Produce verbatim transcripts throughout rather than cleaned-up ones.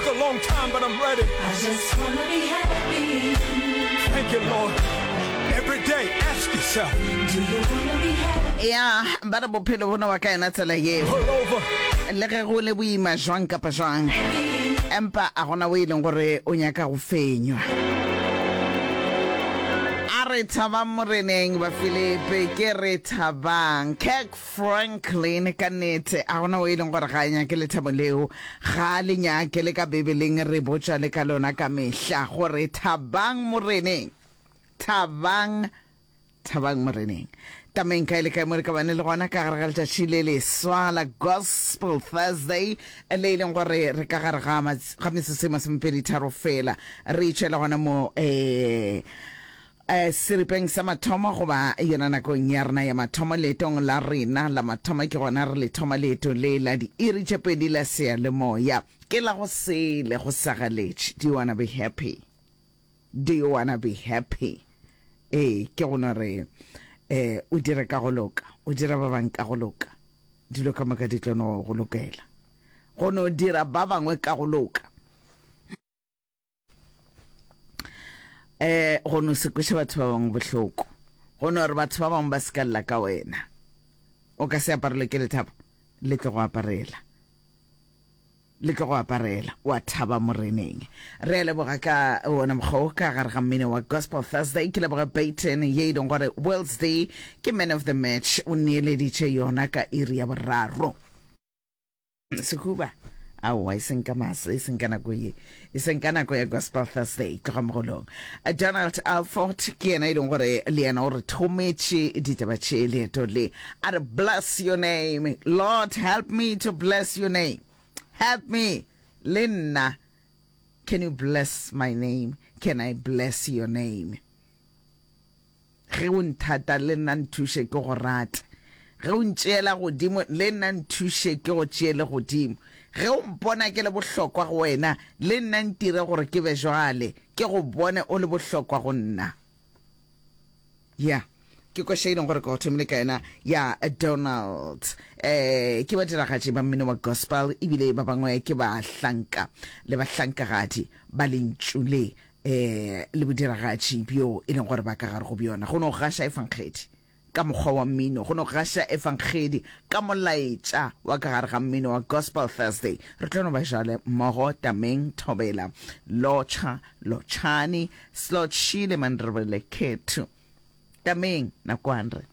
Took a long time, but I'm ready. I just wanna be happy. Thank you, Lord. Every day, ask yourself, Do you wanna be happy? Ya, ba re bophelo bo no ba ka yona tsela yeo. Pull over. Le ge go le boima jwang kapa jwang, empa a gona o e leng gore o nyaka go fenywa. A re thabang Moreneng, Bafilipi, ke re thabang. Kirk Franklin, ka nnete, a gona o e leng gore ga a nyake lethabo leo, ga a le nyake, le ka Bibeleng re botša le ka lona ka mehla, gore thabang Moreneng, thabang, thabang Moreneng. Tameng kae le kae mo re ka bane le gona ka gare ga letšatši le leswa la Gospel Thursday, le e leng gore re ka gare ga ga metsotso e masomepedi tharo fela re itšwela gona mo eh eh seripeng sa mathomo goba yona nakong ya rena ya mathomo leetong la rena la mathomo, ke gona re le thoma leeto le la diiri tše pedi la seyalemoya, ke la go sele go sagaletše. Do you wanna be happy? Do you wanna be happy? Ee, ke go no re eh o dire ka go loka, o dira ba bangwe ka go loka, dilo ka moka di tlo no go lokela. Go no dira ba bangwe ka go loka, eh go no se kweše batho ba bangwe bohloko, go no re batho ba bangwe ba se ka lla ka wena. O ka se aparelwe ke lethabo, le tlo go aparela, le tlo go aparela, wa thaba Moreneng. Re a leboga ka wona mokgwa wo ka gare ga mmino wa Gospel Thursday. Ke leboga Peyton ye e leng gore World's Day ke man of the match, o neeleditše yona ka iri ya boraro. Sehuba, aowa, e seng ka masa, e seng ka nako ye, e seng ka nako ya Gospel Thursday, tloga mogolong. Donald Alford ke yena e leng gore le yena o re thometše ditaba tše leeto le, a re bless your name, Lord help me to bless your name, help me le nna, can you bless my name, can I bless your name? Ge o nthata le nna nthuše ke go rate, ge o ntšeela godimo le nna nthuše ke go tšeele godimo, ge o mpona ke le bohlokwa go wena le nna ntire gore ke be jwale, ke go bone o le bohlokwa go nna. Ya, ke koša e leng gore ke go thomile ka yona ya Donald. Eh, ke badiragatši ba mmino wa gospel, ebile ba bangwe ke bahlanka le bahlankagadi ba lentšu le eh le bodiragatši bjo e leng gore ba ka gare go bjona. Go no gaša efankgedi ka mokgwa wa mmino, go no gaša efankgedi ka molaetša wa ka gare ga mmino wa Gospel Thursday. Re tlo no ba jale mmogo tameng, thobela, lotšha, lotšhani, slotšhile mandrebele khethu. Tameng nakwane re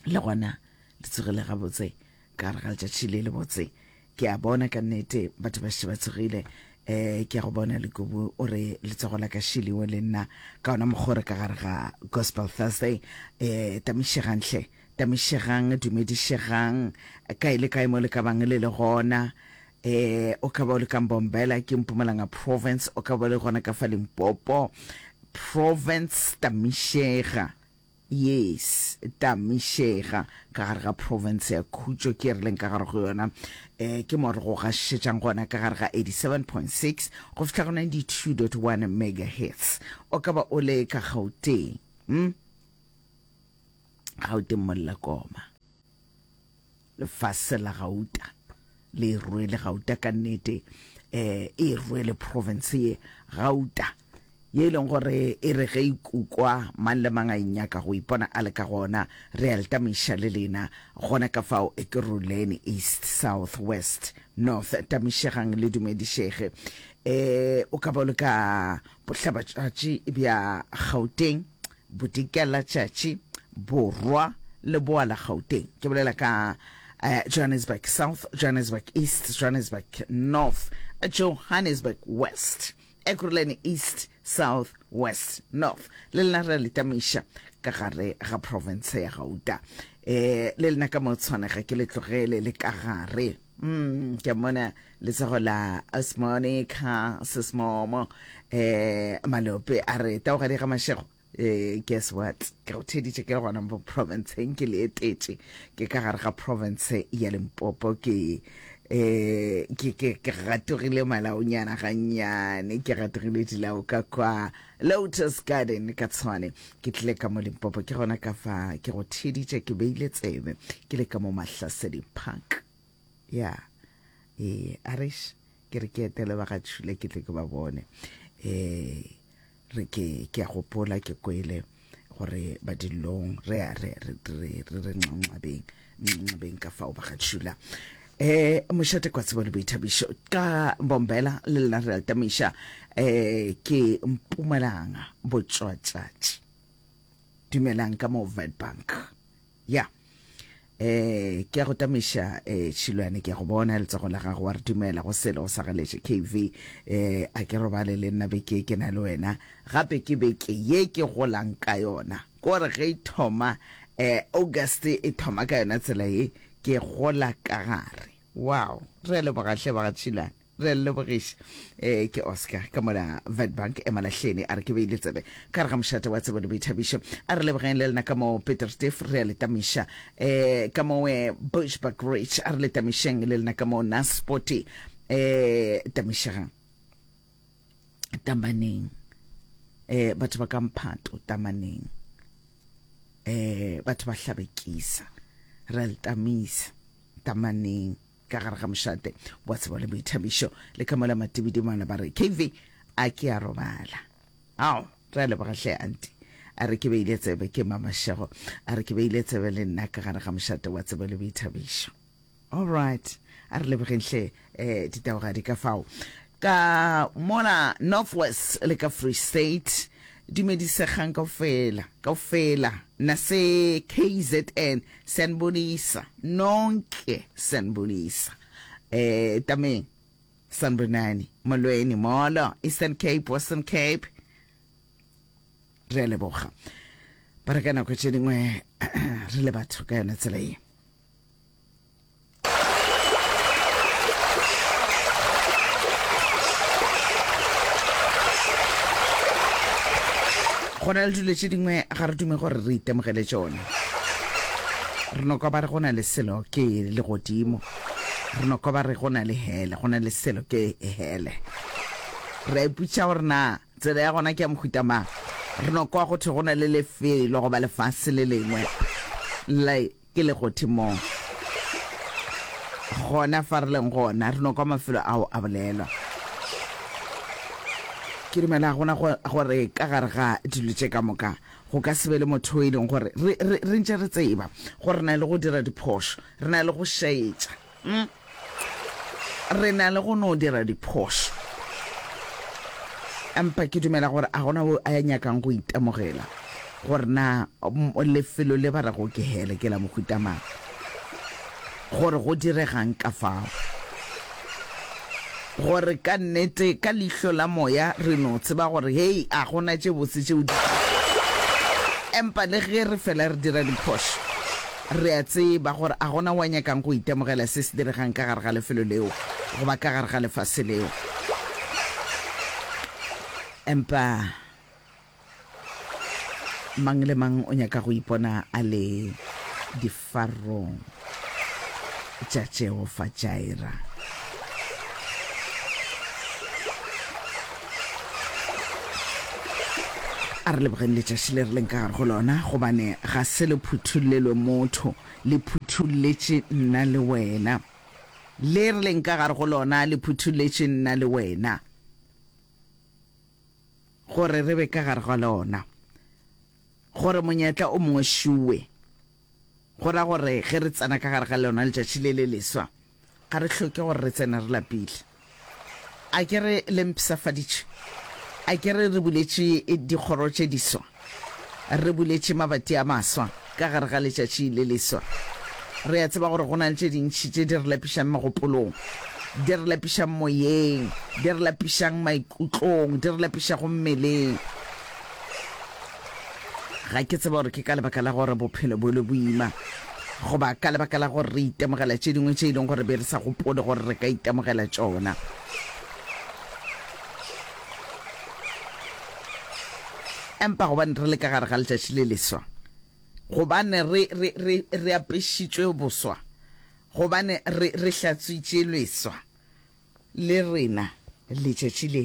le gona le tsogile gabotse ka gare ga letšatši le lebotse. Ke a bona ka nnete batho ba šetše ba tsogile. Eh ke a go bona Lekubu o re letsogo la ka šiliwe le nna ka ona mokgwa re ka gare ga Gospel Thursday. Eh tamišegang hle, tamišegang, dumedišegang kae le kae mo le ka bang le le gona. Eh o ka ba o le ka Mbombela, ke Mpumalanga province, o ka ba o le gona ka fa Limpopo province, tamišega. Yes, tamišega ka gare ga province ya Khutšo ke re leng ka gare go yona. Eh ke mo re go gašetšang gona ka gare ga eighty-seven point six go fihla go ninety-two point one megahertz. O ka ba o le ka Gauteng, hm? Gauteng Mollakoma, lefase la gauta le rwele gauta ka nnete, eh e rwele province ye gauta ye e leng gore e re ge e kukwa mang le mang a e nyaka go ipona a le ka gona. Re a letamiša le lena gona ka fao e ke Ruleni East, South, West, North, tamišegang le dumedišege. Eh o ka ba o le ka bohlabatšatši bja Gauteng, bodikela tšatši, borwa le boa la Gauteng. Ke bolela ka eh, Johannesburg South, Johannesburg East, Johannesburg North, Johannesburg West, Ekurhuleni East, South, West, North. Le lena re letamiša ka gare ga province ya Gauta. Eh le lena ka mo tshwanega ke le tlogele le ka gare. Mm, ke mona letsogo la Osmonica Sesmomo eh Malope a re taogadi ga Mashego. Eh, guess what, ke go theditše ke le gona mo provinceng, ke le etetše ke ka gare ga province ya Limpopo, ke eh ke ke ke gatogile malaonyana gannyane, ke gatogile dilao ka kwa Lotus Garden ka Tshwane, ke tlile ka mo Limpopo, ke gona ka fa ke go theditše, ke beile tsebe ke le ka mo Mahlasedi Park. Ya, eh arish Ke re ke etele ba ga Tšhula ke tle ke ba bone. Eh re ke ke a gopola ke kwele gore ba dillong re a re re re re re nxanxabeng nxanxabeng ka fao ba ga Tšhula. Eh mošate kwa tsebo le boithabišo ka Mbombela le lena re a tamiša eh ke Mpumalanga Botšwatšatši. Dumelang ka mo Witbank. Ya. Eh ke a go tamiša eh Tšhilwane ke a go bona letsogo la gago wa re dumela go sele go sa galetše K V eh a ke robale le nna beke ke na le wena gape ke beke ye ke golang ka yona kore ge e thoma eh August e thoma ka yona tsela ye ke gola ka gare. Wow re a leboga hle ba ga Tšhilwane re a lebogiša. Eh ke Oscar ka mola Witbank emalahleni a re ke beile tsebe ka re ga mošate wa tsebo le boithabišo. A re lebogeng le lena ka mo Peterstief re a le tamiša. Eh ka mo Bushbuck Ridge a re le tamišeng le lena ka mo Naspoti eh tamišegang tamaneng eh batho ba ka mphato tamaneng eh batho ba hlabekisa re a le tamisa tamaneng ka gare ga mošate wa tsebo le boithabišo le ka mola matibidimana ba re K V a ke a robala. Ao re a leboga hle anti a re ke beile tsebe ke mamašego a re ke beile tsebe le nna ka gare ga mošate wa tsebo le boithabišo. All right a re lebogeng hle eh ditaogadi ka fao ka mola Northwest le ka Free State dumedisegang kaofela kaofela nase K Z N sanibonisa nonke sanibonisa eh tameng sanibonani molweni molo Eastern Cape Western Cape re a leboga ba re ka nako tše dingwe re le batho ka yona tsela ye. Go na le dilo tše dingwe ga re dume gore re itemogele tšona. Re no kwa ba re go na le selo ke legodimo, re no kwa ba re go na le hele, go na le selo ke hele. Re a ipotšiša gore na tsela ya gona ke ya mohuta mang. Re no kwa go thwe go na le lefelo goba lefase le lengwe le ke legodimong. Gona fa re leng gona re no kwa mafelo ao a bolelwa. Ke dumela gona gore ka gare ga dilo tše ka moka go ka se be le motho e leng gore re re re ntše re tseba gore re na le go dira diphošo, re na le go šaetša, mm, re na le go no dira diphošo. Empa ke dumela gore a gona o a nyakang go itemogela gore na lefelo le ba rego ke hele ke la mohuta mang, gore go diregang ka fao, gore ka nnete ka leihlo la moya re no tseba gore hei a gona tše botse tšeo di. Empa le ge re fela re dira diphošo, re a tseba gore a gona wa nyakang go itemogela se se diregang ka gare ga lefelo leo goba ka gare ga lefase leo. Empa mang le mang o nyaka go ipona a le difarong tša Jehofa Jireh. A re lebogeng letšatši le re leng ka gare go lona, gobane ga se le phuthullelwe motho, le phutholletše nna le wena. Le re leng ka gare go lona le phutholletše nna le wena, gore re be ka gare ga lona, gore monyetla o mongwe šuwe. Go ra gore ge re tsena ka gare ga lona letšatši le le leswa, ga re hloke gore re tsene re lapile. A ke re le mpshafaditše, a ke re re buletše dikgoro tše diswa, re buletše mabati a maswa ka gare ga letšatši le leswa. Re a tseba gore go na le tše dintši tše di re lapišang megopolong, di re lapišang moyeng, di re lapišang maikutlong, di re lapišago mmeleng. Ga ke tsebe gore ke ka lebaka la gore bophelo bo le boima, goba ka lebaka la gore re itemogela tše dingwe tše e leng gore be re sa gopole gore re ka itemogela tšona. Empa gobane re le ka gare ga letšatši le leswa, gobane re re re re apešitšwe boswa, gobane re re hlatswitše leswa, le rena letšatši le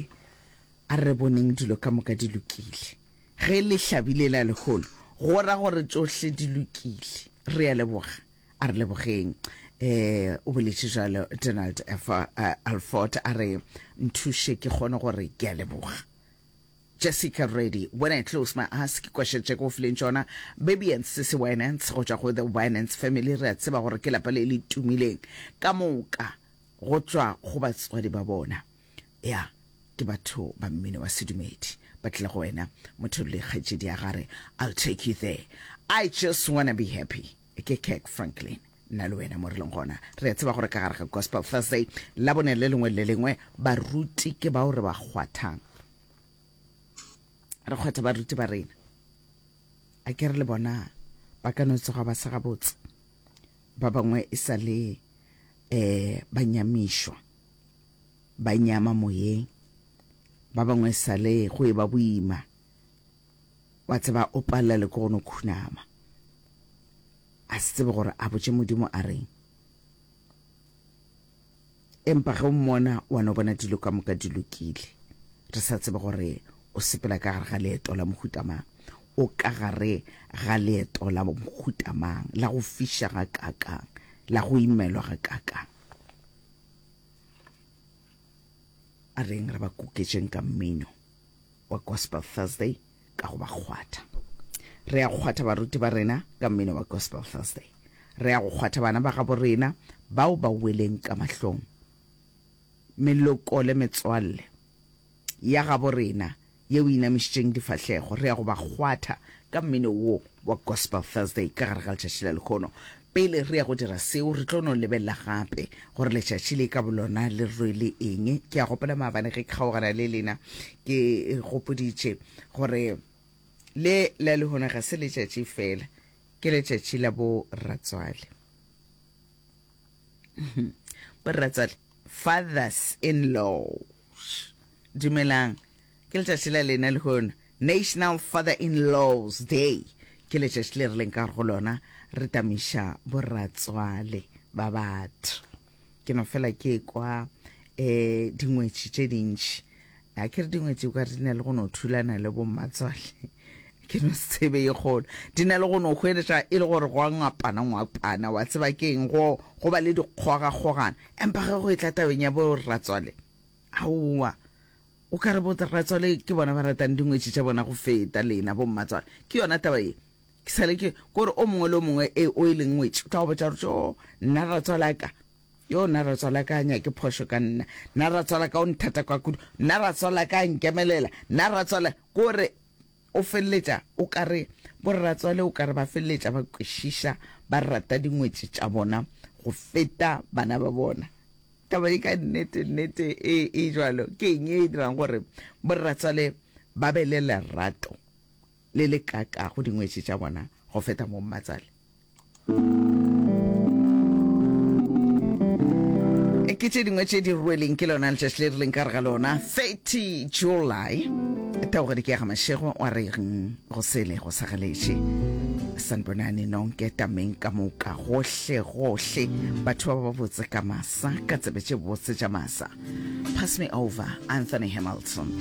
a re boneng dilo ka moka di lokile. Ge le hlabile la lehono, go ra gore tšohle di lokile. Re a leboga, a re lebogeng. Eh o boletše jalo Donald F eh, Alford a re nthuše ke kgone gore ke a leboga. Jessica Reddy, When I Close My Eyes, ke kwešetše ke go fileng tšona. Baby and Sissy Winans go tšwa go The Winans Family, re a tseba gore ke lapa le le tumileng ka moka go tšwa go batswadi ba bona. Ya, ke batho ba mmino wa sedumedi. Ba tlile go wena, motho le kgaetšedi ya gare, I'll take you there. I just wanna be happy. Ke Kirk Franklin. Nna le wena mo re leng gona, re a tseba gore ka gare ga Gospel Thursday, Labone le lengwe le le lengwe, baruti ke bao re ba kgwathang. Re kgwatha baruti ba rena. A ke re le bona ba ka no tsoga ba se gabotse. Ba bangwe e sa le eh ba nyamišwa, ba nyama moyeng. Ba bangwe e sa le go e ba boima. Wa tseba o palela le ke go no khunama. A se tsebe gore a botše Modimo a reng. Empa ge o mmona wa no bona dilo ka moka di lokile. Re sa tsebe gore o sepela ka gare ga leeto la mohuta mang. O ka gare ga leeto la mohuta mang, la go fiša ga kakang, la go imelwa ga kakang. A reng re ba kuketšeng ka mmino wa Gospel Thursday ka go ba kgwatha. Re ya go kgwatha baruti ba rena ka mmino wa Gospel Thursday. Re ya go kgwatha bana ba gabo rena bao ba weleng ka mahlong. Meloko le metswalle ya gabo rena yeo e inamišitšeng difahlego, re ya go ba kgwatha ka mmino wo wa Gospel Thursday ka gare ga letšatši la lehono. Pele re ya go dira seo, re tlo no lebelela gape gore letšatši le ka bolona le rwele eng. Ke a gopola maabane ge ke kgaogana le lena, ke gopoditše gore le la lehono ga se letšatši fela, ke letšatši la bo ratswale. Bo ratswale, fathers in law. Dumelang, ke letšatši la lena lehono, National Father-in-Laws Day. Ke letšatši le re leng ka gare go lona, re tamiša boratswale ba batho. Ke no fela ke kwa eh dingwetši tše dintši. A ke re dingwetši ka re di na le go no thulana le bommatswale. Ke no se tsebe ye kgolo. Di na le go no hweletša e le gore go a ngwapana ngwapana, wa tseba ke eng, go, go ba le dikgogakgogano. Empa ge go etla tabeng ya boratswale, aowa, o ka re boratswale ke bona ba ratang dingwetši tša bona go feta lena bommatswale. Ke yona taba ye. Ke sale ke kore o mongwe le o mongwe e o e leng ngwetši o tla go botša gore tjo nna ratswale a ka, yo nna ratswale a ka a nyake phošo ka nna, nna ratswale a ka o nthata kwa kudu, nna ratswale a ka a nkemelela, nna ratswale, kore o feleletša o ka re borratswale o ka re ba feleletša ba kwešiša ba rata dingwetši tša bona go feta bana ba bona. Taba e ka nnete nnete e, e jwalo. Ke eng e dirang gore borratswale ba be le lerato le le kaka go dingwetši tša bona go feta mo mmatswale? Ke tše dingwe tše di rweleng ke lona letšatši le re leng ka re ga lona, thirty July. Taogedi ke ya ga Mashego wa re go sele go sa galetše. Sanibonani nonke tameng ka moka gohle gohle, batho ba ba botse ka masa, ka tsebe tše botse tša masa. Pass me over, Anthony Hamilton.